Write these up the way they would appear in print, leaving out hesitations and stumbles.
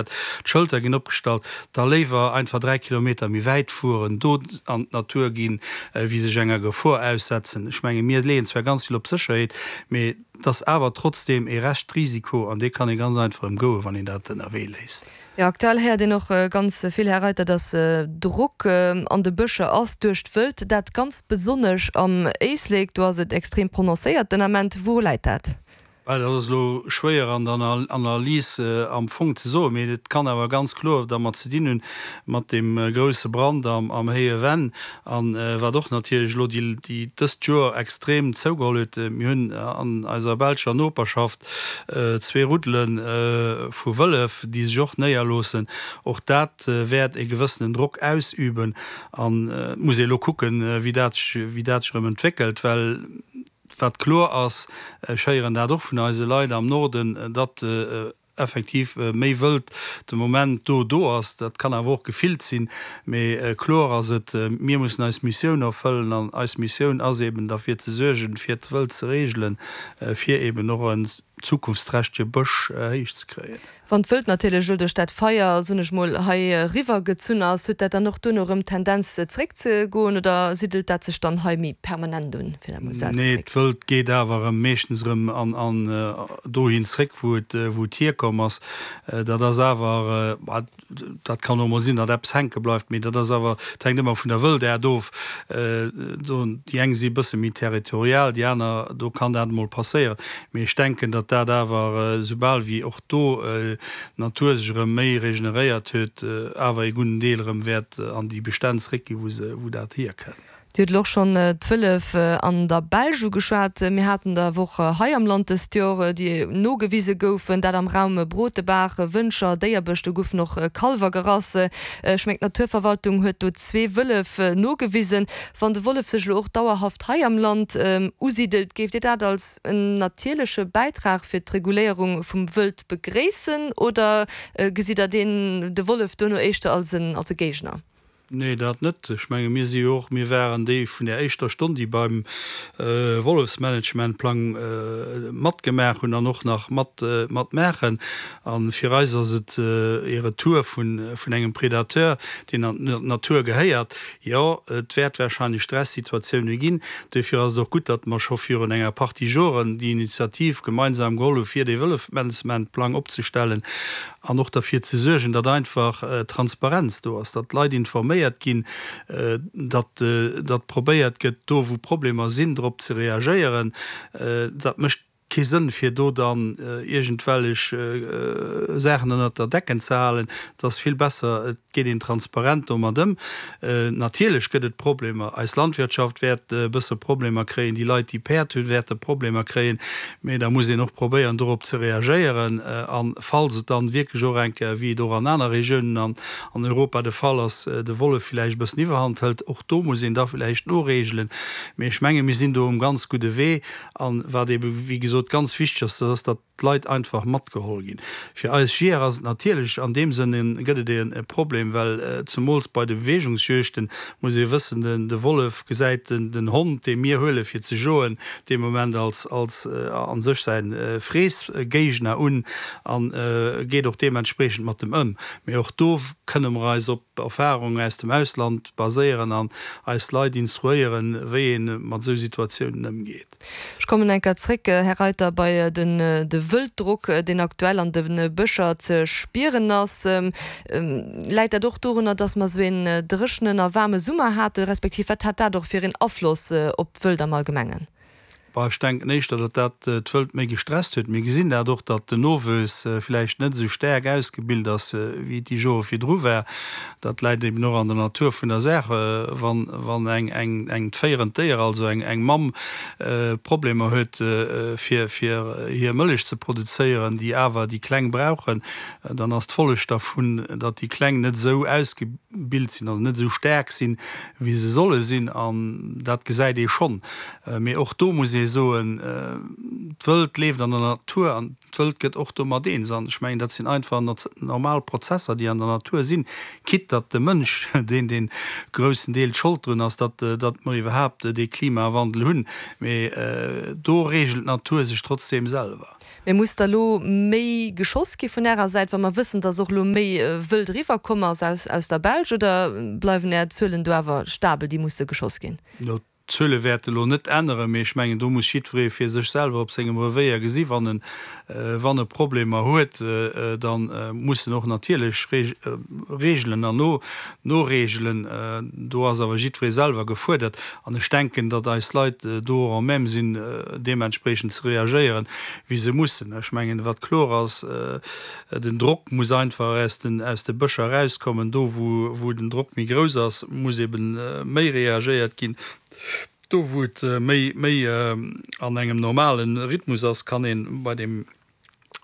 D'Schëlter ginn opgestallt, da léiwer einfach 3 Kilometer méi wäit fueren, do an d'Natur ginn, wéi sech enger Gefor aussetzen. Ech menge mir leeën zwar ganz vill op Sécherheet, mee et ass awer trotzdeem ee Reschtrisiko an dee kann ee ganz einfach ëmgoen, wann een dat ënnerwee léisst. Jo, aktuell héiert een och ganz vill, Här Reiter, dass Drock an de Bëscher ass duerch d'Wëld, dat ganz besonnesch am Éislek, do ass et extrem prononcéiert den Ament. Wouru läit dat? Well dat ass elo schwéier an der Analys am Fong ze soen, mee et kann awer ganz kloer dermat ze dinn hunn, mat deem grouse Brand am Héije Venn a wat och natierlech elo déi dëst Joer extrem zougeholl huet. Mir hunn an eiser belscher Noperschaft zwee Ruddele vu Wëllef, déi sech och néierloossen. Och dat wäert e gewëssenen Drock ausüben an et muss ee elo kucken, wéi dat sech erëm entwéckelt, well Wat kloer ass, ech héieren dat och vun eise Leit am Norden, datt effektiv méi Wëld de Moment do do ass. Dat kann awer och gefillt sinn. Mee kloer ass et, mir mussen eis Missioun erfëllen an eis Missioun ass eben derfir ze suergen, fir d'Wëld ze regelen, fir eben och en zukunftsträchtege Bësch héich ze kréien. Wann d'Wëld natierlech elo duerch dat Feier, soen ech mol, hei eriwwer gezunn ass, huet dat dann och duerno erëm d'Tendenz zeréck ze goen oder siddelt dat sech dann hei méi permanent un, fir dat mol esou Nee, auszedrécken? d'Wëld geet awer erëm meeschtens erëm an an dohin zréck, wou et wou et hierkomm ass. Dat ass awer, Dat kann och mol sinn, datt eppes hänke bleift, mee dat ass awer, dat hänkt ëmmer vun der Wëldaart of. Do, déi eng si e bësse méi territorial, déi aner, do kann dat emol passéieren. Mee ech denken, datt dat awer, soubal wéi och do d'Natur sech erëm méi regeneréiert huet, awer ee gudden Deel erëm wäert an déi Bestänn zréckginn, wou se, wou dat hierkënnt. Dir hutt elo och schonn d'Wëllef an der Belsch ugeschwat. Mir haten der awer och hei am Land dëst Jor, déi nogewise goufen, dat am Raum Brotebaach, Wëncher, Déierbech, do goufen och Kalwer gerass. Ech mengen d'Naturverwaltung huet do zwee Wëllef nogewisen. Wann de Wollef sech elo och dauerhaft hei am Land usidelt, géift Dir dat als en natierleche Bäitrag fir d'Reguléierung vum Wëld begréissen oder gesitt Der deen, de Wollef duerno éischter als e Géigner? Nee, dat net. Ech menge mir si jo och, mir waren déi vun der éischter Stonn, déi beim Wollefsmanagementplang matgemaach hunn an och nach mat matmaachen. A fir eis ass et ee Retour vun vun engem Predateur, deen an d'Natur gehéiert. Jo, et wäert wahrscheinlech Stressituatioune ginn. Duerfir ass et och gutt, datt mer scho virun enger Partie Joren déi Initiativ gemeinsam geholl hu fir dee Wëllefmanagementplang opzestellen. An och derfir ze suergen, datt einfach Transparenz do ass, datt d'Leit informéiert ginn, datt datt probéiert gëtt, do wou Problemer sinn, drop ze reagéieren. Dat mécht kee Sënn, fir do dann iergendwellech Saachen ënnert der Decken ze halen. Et ass vill besser, et geet een transparent domat ëm. Natierlech gëtt et Problemer. Eis Landwirtschaft wäert e bësse Problemer kréien, déi Leit, déi Päerd hunn, wäerte Problemer kréien. Mee da muss een och probéieren, dorop ze reagéieren. A falls et dann wierklech och eng Kéier, wéi et och an aner Regiounen an Europa de Fall ass, de Wollef villäicht e bëssen Iwwerhand hëlt, och do muss een da villäicht noregelen. Mee ech menge mir sinn do um ganz gudde Wee. A wat eebe wéi gesot ganz wichteg ass, dat ass, datt d'Leit einfach matgeholl ginn. Fir eis Jeeër ass et natierlech an deem Sënne gëtt et e Problem, well zemools bei de Beweegungsjuegten muss ee wëssen, de Wollef gesäit den Hond, dee mir huele fir ze joen, dee Moment als als a sech säi Freessgéigner un a geet och deementspreechend mat em ëm. Mee och do kënne mer eis op Erfarungen aus dem Ausland baséieren an eis Leit instruéieren, wéi ee mat esou Situatiounen ëmgeet. Ech kommen eng Kéier zréck, Här Reiter, bei den de Wëlddrock, deen aktuell an de Bëscher ze spieren ass. Läit dat och dorunner, dass mer esou een dréchenen a waarme Summer haten, respektiv wat hat dat och fir een Afloss op d'Wëld am Allgemengen? Bah, ech denken éischter, datt dat d'Wëld méi gestresst huet. Mir gesinn dat och, datt den Nowuess villäicht net esou staark ausgebilt ass, wéi et déi Jore virdru war. Dat läit eben och an der Natur vun der Saach. Wann, wann eng, eng, eng d'féierend Déier, also eng, eng Mamm, Problemer huet, fir, fir hir Mëllech ze produzéieren, déi awer déi Kleng brauchen, dann ass d'Folleg dervun, datt déi Kleng net esou ausgebilt sinn, also net esou staark sinn, wéi se solle sinn. An dat gesäit ee schonn. Mee och do muss ee. ee soen, d'Wëld leeft an der Natur an d'Wëld gëtt och domat eens. An ech mengen, dat sinn einfach normal Prozesser, déi an der Natur sinn, quitte datt de Mënsch deen dee groussen Deel d'Schold drun ass, datt datt mer iwwerhaapt dee Klimawandel hunn. Mee do reegelt d'Natur sech trotzdeem selwer. Mee muss da lo méi geschoss gi vun Ärer Säit, wa mer wëssen, datt och lo méi Wëld eriwwer komm ass aus aus der Belsch, oder bleiwen Är Zuelen do awer stabel, déi musse geschoss ginn? Jo, d'Zuele wäerte lo net änneren, mee ech mengen, do muss jiddweree fir sech selwer op sengem Revéier gesi wann en wann e Problemer huet, da muss en och natierlech reegelen an no noreegelen. Do ass awer jiddweree selwer gefuerdert. An ech denken, datt eis Leit do och en même sinn, deementspreechend ze reagéieren, wéi se mussen. Ech mengen, wat kloer ass, Den Drock muss einfach aus den, aus de Bëscher erauskommen. Do, wou, wou den Drock méi grouss ass, muss ebe méi reagéiert ginn. Do, wou et méi, méi an engem normale Rhythmus ass, kann ee bei deem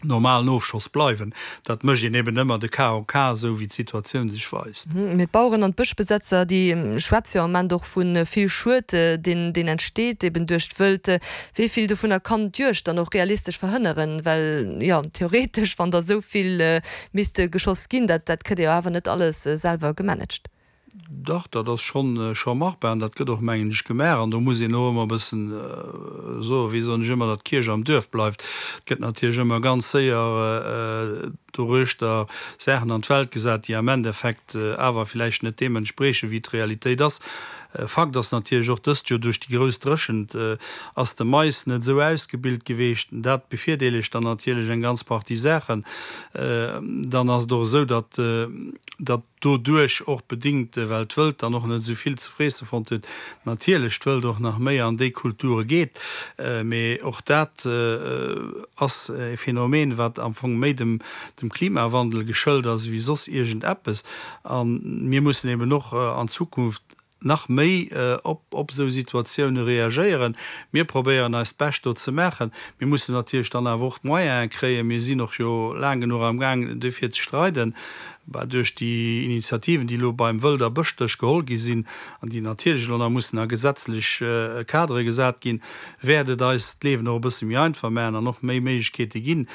normalen Ofschoss bleiwen. Dat mécht een eben ëmmer de Cas au cas, esou wéi d'Situatioun sech weist. Mee d'Baueren an d'Bëschbesetzer, déi schwätze jo am Ament och vu vill Schued, deen deen entsteet eben duerch d'Wëld. Wéi vill dovunner kann d'Juegd dann och realistesch verhënneren? Well jo, theoretesch, wann der esou vill misste geschoss ginn, dat dat kritt Dir jo awer net alles selwer gemanagt. Dach, dat ass schonn scho machbar an dat gëtt och, mengen ech, gemaach. An do muss een och ëmmer e bëssen soen, wéi soen ech ëmmer, datt d'Kierch am Duerf bleift. Et gëtt natierlech ëmmer ganz séier doruechter Saachen an d'Welt gesat, déi am Endeffekt awer villäicht net deem entspriechen, wéi d'Realitéit ass. Fakt ass natierlech och, dëst Joer duerch déi grouss Dréchent ass de Mais net esou ausgebilt geweecht. Dat bevirdeelegt dann natierlech eng ganz Partie Saachen. Dann ass et och esou, datt datt doduerch och bedingt, well d'Wëld dann och net esou vill ze freesse fonnt huet, natierlech d'Wëld och nach méi an déi Kulture geet. Mee och dat ass e Phänomen, wat am Fong méi dem Klimawandel geschëlt ass ewéi soss iergend eppes. A mir mussen eben och an Zukunft nach méi op esou Situatioune reagéieren. Mir probéieren eist Bescht do ze maachen. Mir mussen natierlech dann awer och d'Moyene kréien. Mir sinn och jo laang genuch am Gaang dofir ze streiden. Bah, duerch déi Initiativen, déi elo beim Wëld a Bëschdësch geholl gi sinn an déi natierlech elo nach mussen a gesetzlech Kadere gesat ginn, wäert et eis d'Liewen och e bësse méi einfach maachen an och méi Méiglechkeete ginn.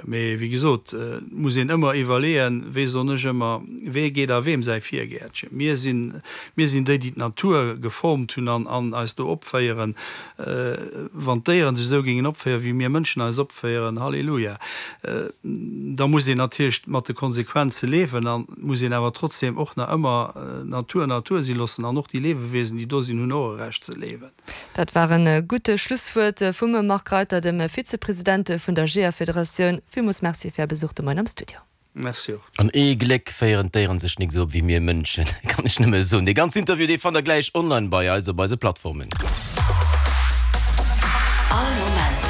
Mee wéi gesot, et muss een ëmmer iwwerleeën, wéi soen ech ëmmer, wee geet a weem säi Virgäertchen. Mir sinn, mir sinn déi, déi d'Natur geformt hunn an, an eis do opféieren. Wann d'Déieren sech esou géingen opféieren, wéi mir Mënschen eis opféieren, Halleluja, da muss een natierlech mat de Konsequenze liewen an et muss een awer trotzdem och nach ëmmer d'Natur Natur si loossen an och déi Liewewesen, déi do sinn, hunn och e Recht ze liewen. Dat war e gutt Schlusswuert vum Marc Reiter, dem Vizepresident vun der Jeeërfederatioun. Villmools Merci fir Är Besuch de Moien am Studio. Merci och. An ee Gléck féieren d'Déieren sech nik esou op wéi mir Mënschen, kann ech nëmme soen. Dee ganzen Interview, dee fannt der gläich online bei eis op eise Plattformen. All Moment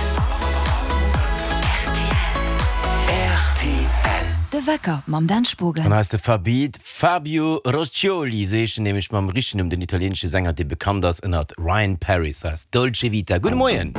rtl. De Wecker mam Dan Spogen. An eis de Fabi, Fabio Roscioli, esou heescht en nämlech mam richtegen Numm, den italieenesche Sänger, dee bekannt ass ënnert Ryan Paris, ass Dolce Vita. Gudde Moien!